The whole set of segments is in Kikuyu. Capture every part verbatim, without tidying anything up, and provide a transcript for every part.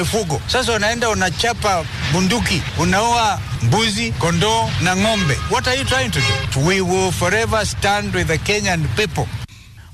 Mifugo sasa, unaenda unachapa bunduki, unaua mbuzi, kondoo na ng'ombe. What are you trying to do? We will forever stand with the Kenyan people.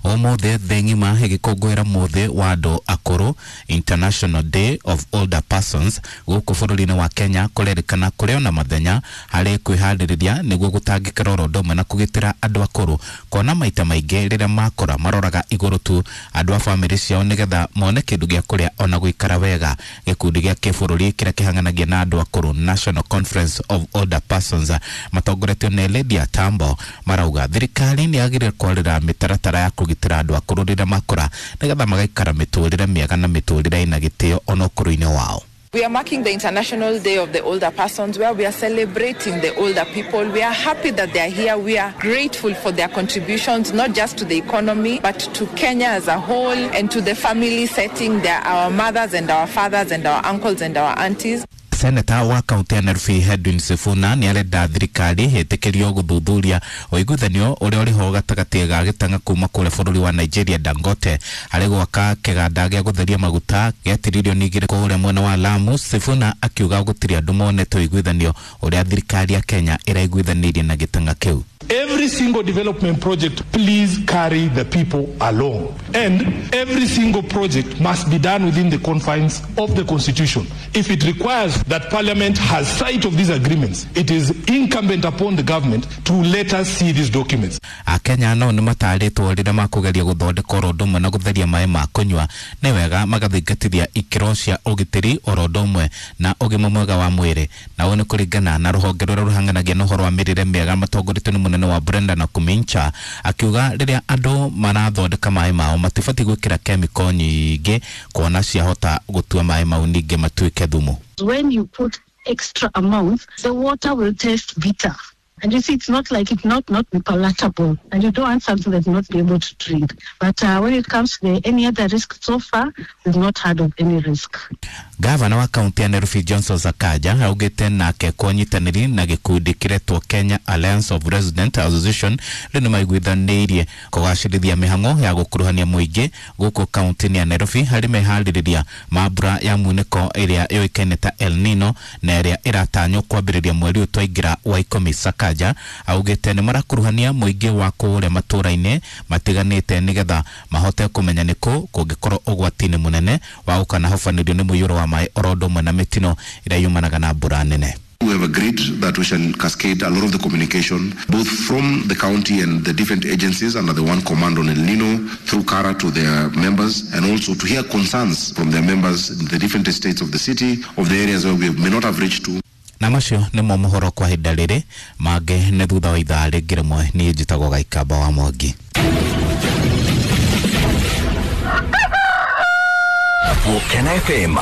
Umuthi thĩ ng'ima ĩgĩkũngũĩra mũthĩ wa andũ akũrũ, International Day of Older Persons. Gũkũ bũrũri-inĩ wa Kenya kũrerĩkana kũrĩ ona mathenya harĩ kwĩharĩrĩria nĩguo gũtangĩkĩra oro ũndũ ũmwe na kũgitĩra andũ akũrũ, kuona maita maingĩ rĩrĩa makũra maroraga igũrũ tu andũ a bamĩrĩ ciao nĩgetha mone kĩndũ gĩa kũrĩa ona gũikara wega. Gĩkundi gĩa kĩbũrũri kĩrĩa kĩhang'anagia na andũ akũrũ, National Conference of Older Persons, matongoretio nĩ Lydia Tambo, marauga thirikari nĩ yagĩrĩire kwarĩra mĩtaratara ya kũgitĩra andũ akũrũ rĩrĩa makũra nĩgetha magaikara mĩtũrĩre mĩega na mĩtũrĩre ĩna gĩtĩo ona ũkũrũ-inĩ wao. We are marking the International Day of the Older Persons, where we are celebrating the older people. We are happy that they are here. We are grateful for their contributions, not just to the economy, but to Kenya as a whole and to the family setting. They are our mothers and our fathers and our uncles and our aunties. Seneta wa kaunti ya Nairobi Edwin Sifuna nĩ arenda thirikari ĩtĩkĩrio gũthuthuria ũiguithanio ũrĩa ũrĩ ho gatagatĩ ga gĩtang'a kuma kũrĩa bũrũri wa Nigeria Dangote harĩ gwaka kĩganda gĩa gũtheria maguta gĩa tiririoni igĩrĩ kũrĩa mwena wa Lamu. Sifuna akiuga gũtirĩ andũ monete ũiguithanio ũrĩa thirikari ya Kenya ĩraiguithanĩirie na gĩtang'a kĩu. Every single development project, please carry the people along. And every single project must be done within the confines of the Constitution. If it requires that Parliament has sight of these agreements, it is incumbent upon the government to let us see these documents. Akenya no nĩ matarĩtwo rĩrĩa makũgeria gũthondeka oro ũndũ ũmwe na gũtheria maĩ ma kũnyua nĩ wega magathingatithia ikĩro cia ũgitĩri oro ũndũ ũmwe na ũgima mwega wa mwĩrĩ, na ũũ nĩ kũringana na rũhonge rũrĩa rũhang'anagia na ũhoro wa mĩrĩre mĩega matongoretio nĩ mũnene wa Brenda na Kumincha, akiuga rĩrĩa andũ marathondeka maĩ mao matibatiĩ gwĩkĩra kemiko nyingĩ kuona ciahota gũtua maĩ mau ningĩ matuĩke thumu. When you put extra amounts, the water will taste bitter. And you see, it's not like it's not, not be palatable. And you don't want something that's not be able to drink. But uh, when it comes to the, any other risk, so far, we've not heard of any risk. Gavana wa kaunti ya Nairobi Johnson Sakaja augĩte nake kwa ũnyitanĩri na gĩkundi kĩretwo Kenya Alliance of Resident Association rĩu nĩmaiguithanĩirie kũgacĩrithia mĩhang'o ya gũkuruhania mũingĩ gũkũ kaunti-inĩ ya Nairobi harĩ meharĩrĩria ma mbura ya munĩko ĩrĩa yũĩkaine ta El Nino na ĩrĩa ĩratanywo kwambĩrĩria mweri ũyũ twaingĩra wa ikũmi. Sakaja augĩte nĩmarakuruhania mũingĩ wa kũrĩa matũũra-inĩ matiganĩte nĩgetha mahote kũmenya nĩkũ kũngĩkorwo ũgwati-inĩ mũnene wa gũkanahobanĩrio nĩ mũiyũro wa maĩ oro ũndũ ũmwe na mĩtino ĩrĩa yumanaga na mbura nene. We have agreed that we shall cascade a lot of the communication, both from the county and the different agencies under the one command on El Nino, through CARA to their members, and also to hear concerns from their members in the different estates of the city, of the areas where we may not have reached to. Na macio nĩmo mohoro kwa ihinda rĩrĩ, mangĩ nĩ thutha wa ithaa rĩngĩ rĩmwe. Niĩ njĩtagwo Gaikamba wa Mwangi. Can F M.